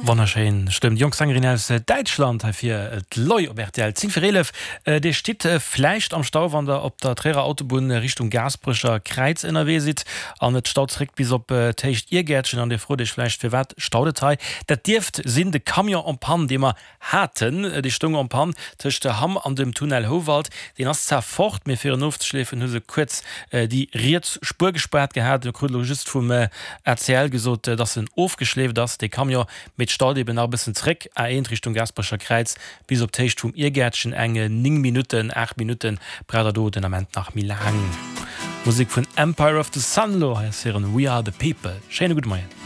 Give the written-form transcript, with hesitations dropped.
Wonnerschéin Stëmm, déi jonk Sängerin aus Däitschland hei fir d'Loi op rtl. 10 vir 11, Dir stitt vläicht am Stau, wann der op der Tréierer Autobunn Richtung Gaasperecher Kräiz ënnerwee sidd an et staut zeréck bis op d'Héicht Iergäertchen an Dir frot Iech vläicht, firwat staut et hei? Dat dierft sinn de Camion en panne, dee mer haten. Dee stoung en panne tëscht Hamm an dem Tunnel Houwald. Deen ass zwar fort, mee fir en ofzeschleefen hu se kuerz déi riets Spuer gespaart gehat. Mir kruten elo just vum ACL gesot, dass en ofgeschleeft ass, dee Camion, mee et staut eben nach e bëssen zréck, A1 Richtung Gaasperecher Kräiz bis op d'Héicht vum Iergäertchen eng 9 Minutten, 8 Minutten braucht der do den Ament nach méi laang. Musek vun Empire of the Sun elo, hei ass hiren We Are the People. Schéine gudde Moien.